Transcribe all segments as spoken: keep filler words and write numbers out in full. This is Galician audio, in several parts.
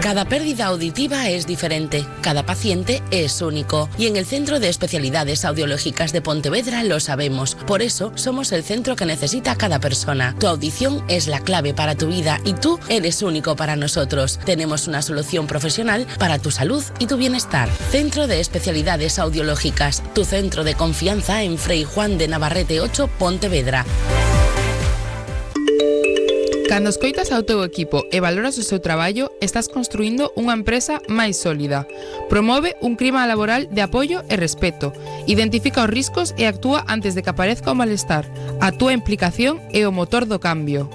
Cada pérdida auditiva es diferente, cada paciente es único y en el Centro de Especialidades Audiológicas de Pontevedra lo sabemos. Por eso somos el centro que necesita cada persona. Tu audición es la clave para tu vida y tú eres único para nosotros. Tenemos una solución profesional para tu salud y tu bienestar. Centro de Especialidades Audiológicas, tu centro de confianza en Frei Juan de Navarrete ocho, Pontevedra. Cando escoitas ao teu equipo e valoras o seu traballo, estás construindo unha empresa máis sólida. Promove un clima laboral de apoio e respeto. Identifica os riscos e actúa antes de que aparezca o malestar. A túa implicación é o motor do cambio.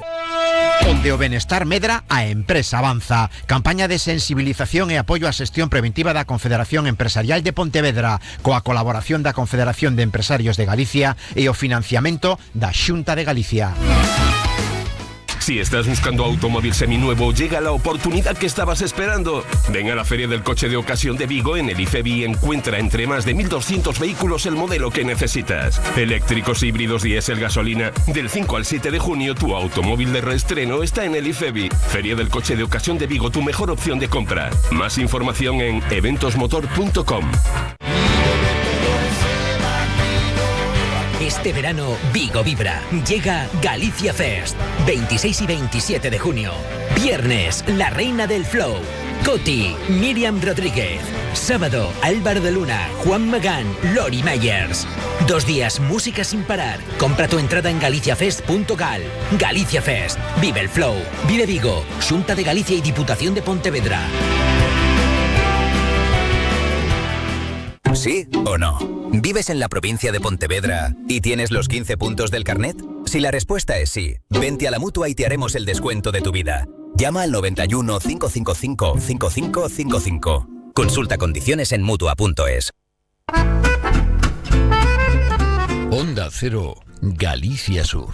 Onde o benestar medra, a empresa avanza. Campaña de sensibilización e apoio á xestión preventiva da Confederación Empresarial de Pontevedra, coa colaboración da Confederación de Empresarios de Galicia e o financiamento da Xunta de Galicia. Si estás buscando automóvil seminuevo, llega la oportunidad que estabas esperando. Ven a la Feria del Coche de Ocasión de Vigo en el IFEBI y encuentra entre más de mil doscientos vehículos el modelo que necesitas. Eléctricos, híbridos, diésel, gasolina. Del cinco al siete de junio, tu automóvil de reestreno está en el IFEBI. Feria del Coche de Ocasión de Vigo, tu mejor opción de compra. Más información en eventos motor punto com. Este verano, Vigo vibra. Llega Galicia Fest. veintiséis y veintisiete de junio. Viernes, la reina del flow. Coti, Miriam Rodríguez. Sábado, Álvaro de Luna, Juan Magán, Lori Meyers. Dos días, música sin parar. Compra tu entrada en galiciafest punto gal. Galicia Fest. Vive el flow. Vive Vigo. Xunta de Galicia y Diputación de Pontevedra. ¿Sí o no? ¿Vives en la provincia de Pontevedra y tienes los quince puntos del carnet? Si la respuesta es sí, vente a la Mutua y te haremos el descuento de tu vida. Llama al noventa y uno, cinco cinco cinco, cinco cinco cinco cinco. Consulta condiciones en mutua punto es. Onda Cero, Galicia Sur.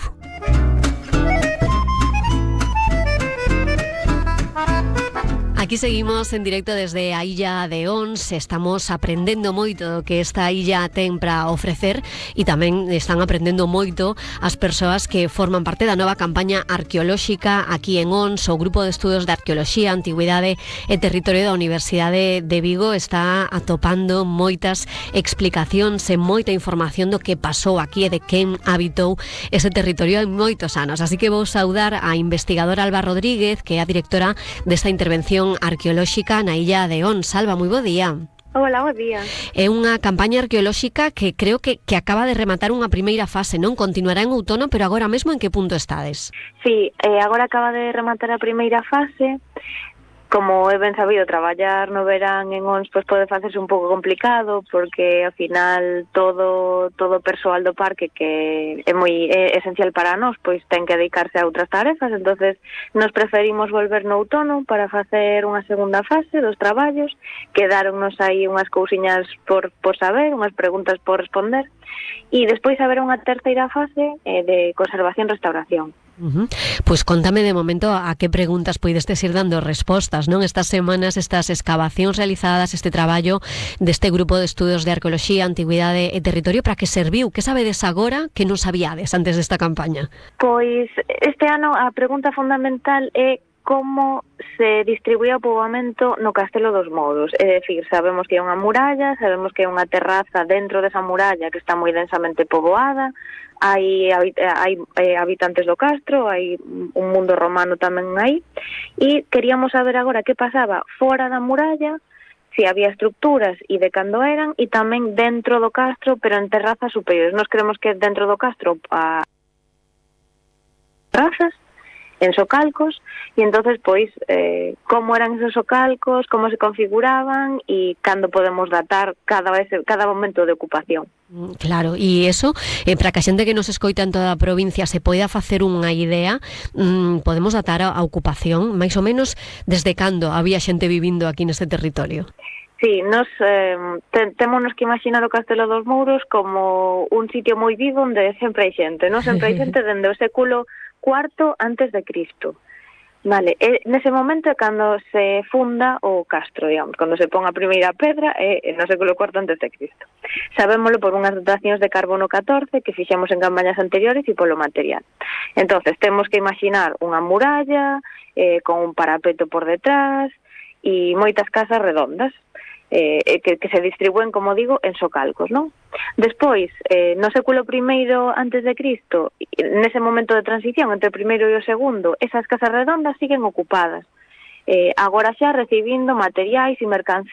Aquí seguimos en directo desde a Illa de Ons. Estamos aprendendo moito do que esta illa ten para ofrecer e tamén están aprendendo moito as persoas que forman parte da nova campaña arqueolóxica aquí en Ons. O Grupo de Estudos de Arqueoloxía, Antigüidade e Territorio da Universidade de Vigo está atopando moitas explicacións e moita información do que pasou aquí e de quen habitou ese territorio en moitos anos. Así que vou saudar a investigadora Alba Rodríguez, que é a directora desta intervención arqueolóxica na Illa de Ons. Alba, moi bo día. Hola, bo día. É unha campaña arqueolóxica que creo que, que acaba de rematar unha primeira fase, non? Continuará en outono, pero agora mesmo en que punto estades? Sí, eh, agora acaba de rematar a primeira fase. Como é ben sabido, traballar no verán en Ons pois pode facerse un pouco complicado porque ao final todo todo o persoal do parque que é moi é esencial para nós, pois ten que dedicarse a outras tarefas, entonces nos preferimos volver no outono para facer unha segunda fase dos traballos. Quedáronnos aí unhas cousiñas por, por saber, unhas preguntas por responder e despois haberá unha terceira fase eh, de conservación-restauración. Uh-huh. Pois contame de momento a que preguntas poidestes ir dando respostas, non? Estas semanas, estas excavacións realizadas, este traballo deste Grupo de Estudos de Arqueoloxía, Antigüidade e Territorio, para que serviu? Que sabedes agora que non sabíades antes desta campaña? Pois este ano a pregunta fundamental é como se distribuía o poboamento no Castelo dos Mouros. É dicir, sabemos que é unha muralla, sabemos que é unha terraza dentro desa muralla que está moi densamente poboada, hai, hai eh, habitantes do castro, hai un mundo romano tamén aí, e queríamos saber agora que pasaba fora da muralla, se había estructuras e de cando eran, e tamén dentro do castro, pero en terrazas superiores. Nos creemos que dentro do castro a terrazas, en socalcos, e entonces pois eh, como eran esos socalcos, como se configuraban e cando podemos datar cada vez cada momento de ocupación. Claro, e eso, eh, para que a xente que nos escoita en toda a provincia se poida facer unha idea, mmm, podemos datar a, a ocupación, máis ou menos desde cando había xente vivindo aquí neste territorio? Sí, nos eh, te, témonos que imaginar o Castelo dos Mouros como un sitio moi vivo onde sempre hai xente, non? Sempre hai xente dende o século cuarto antes de Cristo. Vale, e nese momento é cando se funda o castro, digamos, cando se pon a primeira pedra é no século cuarto antes de Cristo. Sabémolo por unhas datacións de carbono catorce que fixemos en campañas anteriores e polo material. Entonces, temos que imaginar unha muralla eh, con un parapeto por detrás e moitas casas redondas, eh, que, que se distribúen, como digo, en socalcos, non? Despois, eh, no século primeiro antes de Cristo, nese momento de transición entre o primeiro e o segundo, esas casas redondas siguen ocupadas, eh, agora xa recibindo materiais e mercancías